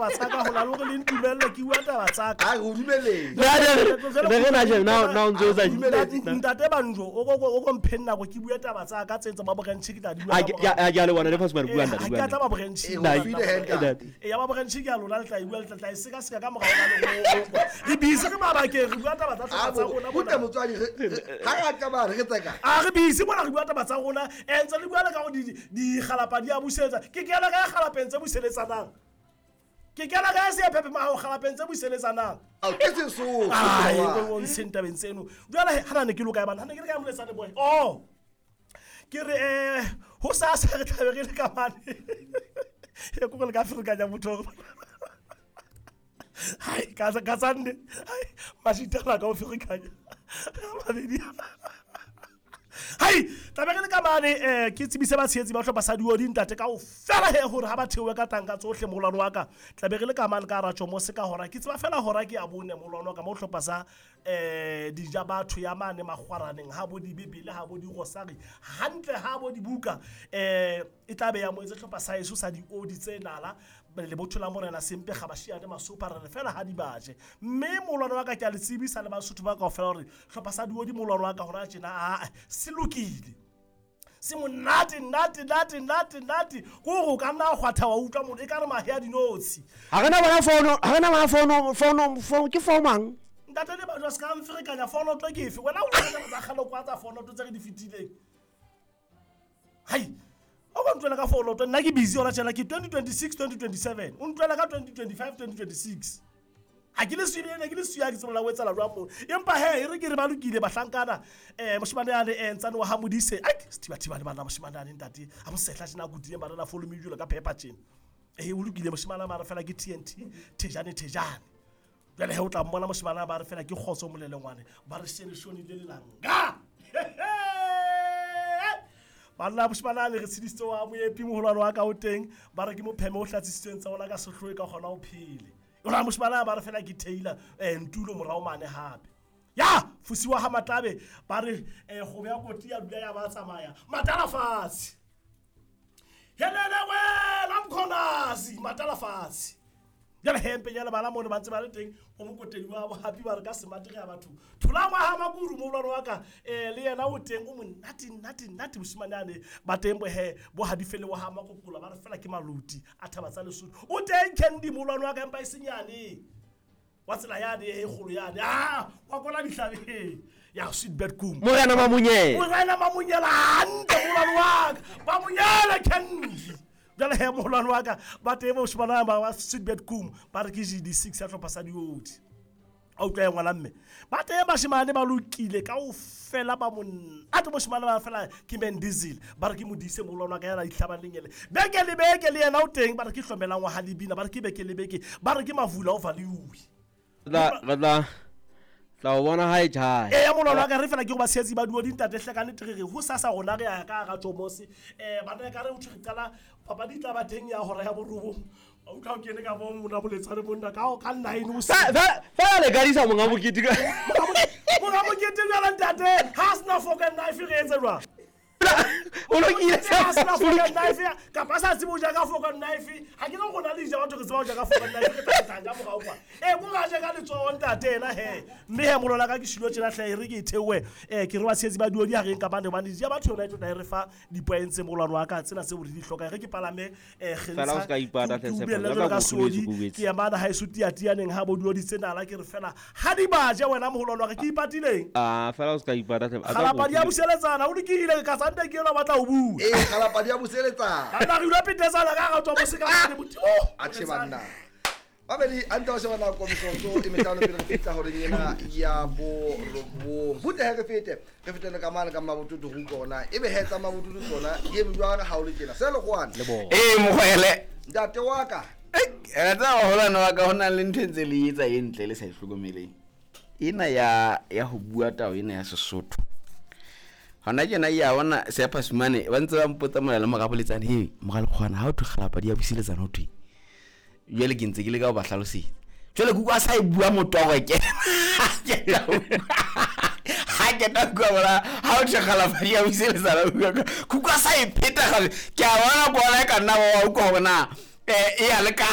taba tsa ka ho na le hore le ntumelle ke bua taba tsa ka. A re o dumeletse. Ne re na je na o ntso o sa Ntate Banjo, o ko mpheng nako ke bue taba tsa ka tse tsa ba borenchi ke tla di bua. A ke a le bona le Pasumane bua ntate Ha bua ke a tla ntate. ba borenchi. Eh, o file he ntate. E ya ba borenchi ke a lona le tla e bua le tla e sekaseka ka morao ka le re busy re mabakeng re bua taba tsa A tlhoka tsa rona butle mona. motswadi ha re a tsamaya re tseka. A re busy mona re bua taba tsa rona e ntse le bua le ka gore digalapa di a busetsa. Ke kena ka ya galapeng tse buseletsanang. Ke kena ka ya seephephe maho galapeng tse buseletsanang. Ao ke Sesotho. Ai, wa. o ntsheng tabeng tseno. Jwale ha ne ke loka ya bana, ha ne ke le ka moletsane boy. Oh. Ke re ho sa sa re tlabe re le ka mane. E ko le ka ferekanya motho. Hai, ka tsande. Hai, mashitana ka o ferekanya. Mabedi. Hai, tlabe re le ka mane ke tsebise batshehetsi ba hlopha sa Diodi ntate ka ofela he hore ha ba theohe ka tanka tsohle moholwane wa ka. Tlabe re le ka mane ka hara Tjomose ka hora. Ke tseba fela hora ke ya bone moholwane wa ka mo hlopha sa dija batho ya mane makgwaraneng ha bo dibebele ha bo dirosari hantle ha bo dibuka e tla be ya moetse hlopha sa heso sa diodi tse nala lebotho la morena Sempe Kgabashiane Masopa re fela ha di baje. Mme moholwane wa ka ke a le tsebisa le Basotho ba kaofela hore hlopha sa Diodi moholwane wa ka hona tjena a se lokile. Se monate nate nate nate nate ko gore o ka nna kgwatha wa utlwa motho e ka re mahe a dinotshi. Ha re na bona fono, ha re na bona fono, fono, fono ke fono mang? Ntate le batho ba se ka mferekanya fono tlo ke efe? Wena o tla tsa kgale kwa tsa fono tse re di fetileng. Hai, o ka ntlwela ka fono tlo nna ke busy hona tjena ke 2026 2027. O ntlwela ka 2025 2026. Ha ke le suile ena ke le suya ke tsebola o etsala jwang moo. Empa he e re ke re ba lokile bahlankana moshemane yane ntsane wa ha Modise. Ai sethiba-thiba le bana moshemane yane ntate a mosehla tjena a kutileng ba rena follow me jwalo ka pepper tjena. O lokile moshemane ba re fela ke TNT thejane thejane. Jwale he o tla mmona moshemane ba re fela ke kgotso molelengwane ba re shene shone le lelanga. Banna moshemane le re tshedisitse wa moepi moholwane wa ka o teng ba re ke mopheme o hlatsisitsweng tsa ona ka sehloe ka kgona ho phele. Ora moshemane ba re fela ke Taylor ntulo morao mane hape. Ya fusiwa ha Matlabe ba re kgobe ya koti ya dula ya ba tsamaya matala fatshe. Helele wela mkhonazi matala fatshe. Jwale hempe ya lebala mo ba ntse ba le teng o mokotedi wa bo happy ba re ka smart re ya batho. Thola ngwa ha Makuru moholwane wa ka le yena o teng o monate nate nate moshemane ane ba teng bo he bo hadifele wa ha Makokola ba re fela ke maluti a thaba tsa Lesotho. O teng Candy moholwane wa ka empa e senyane. Wa tsela yane e kgolo yane. Ah, wa kona dihlabeng. Ya sweet bed kum. Morena Mamunyela. Morena Mamunyela hantle moholwane wa ka. Mamunyela Candy. Jwale he moholwane wa ka ba teng bo shebana ba sweet bed kum ba re ke GD6 ya hlopha sa Diodi. A utlwa ya ngwana mme. Ba teng bashemane ba lokile kaofela ba monate moshemane ba fela ke Man Diesel ba re ke Modise moholwane wa ka yana dihlabang lengele. Beke le beke le yena o teng ba re ke hlomelang wa ha Lebina ba re ke beke le beke ba re ke Mavula o value. Tla tla o bona ha e tjhaya. Ya moholwane wa ka re fela ke go ba tshehetsi ba Diodi ntate hle ka nnete re re ho sasa rona re ya ka hara Tjomose. Bana ka re ho thwe re qala papadi tla ba teng ya hora ya borobong. O utlwa o kene ka bo mona boletsane monna ka ka 9 o se. Fela le kadisa monga mokete ka. Monga mokete jwale ntate, ha sena fork and knife re etse jwang? O lokile Ha sena fork and knife kapa sa tsebe ho ja ka fork and knife. Ha ke no rona le ja batho re tseba ho ja ka fork and knife re tla ja morao kwa. Ko ra ja ka letsoho ntate ena he. Mme he molola ka ke shilo tjena hle re ke e theohe. Ke re ba tshehetsi ba Diodi ha re nka bane hobane ja batho yona e tlo re fa di-points moholwane wa ka tsena tseo re di hlokang. Re ke palame Fela o ska ipata hle ke Tshepo, ubelle jwalo jwalo ka ka bo Sodi, o boletse. ke ya mana ha eso tiatianeng ha bo Diodi tsena la ke re fela ha di baje wena moholwane wa ka ke ipatileng. Ah, fela o ska ipata hle. A tla Kgalapa di a go- buseletsana, o lokile ka sante ke ena o batla ho bua. Kgalapa di a buseletsana. Banna re dula petetsana ka hara Tjomose ka mane motho. A tjhe banna. Babedi a ntse ba sheba nako metsotso e mehlano pele re fihla horeng ena ya borobong. Butle he re fete, re fetele ka mane ka Mmabotutu ho utlwa hore na ebe he tsa Mmabotutu tsona di eme jwang ha o le tjena. Se lekgoane. Le bona. Mokhwele. Ntate wa ka. Re tseba moholwane wa ka ho na le ntho e ntse le etsa e ntle le sa e hlokomeleng. Ena ya ho bua tao ena ya Sesotho. Hona tjena ya bona Sephasumane ba ntse ba mpotsa mona le mora boletsane, he mora lekgoane ha o thwe kgalapa di a buseletsana ho thwe. Jwale ke ntse ke leka ho ba hlalosetsa. Jwale ke utlwa a sa e bua motoro ke. Ha ke ta bua bona ha o thwe kgalapa di a buseletsana ho bua ka. Ke utlwa a sa e pheta gape. Ke a bona ko ona e ka nna wa utlwa hore na e ya le ka.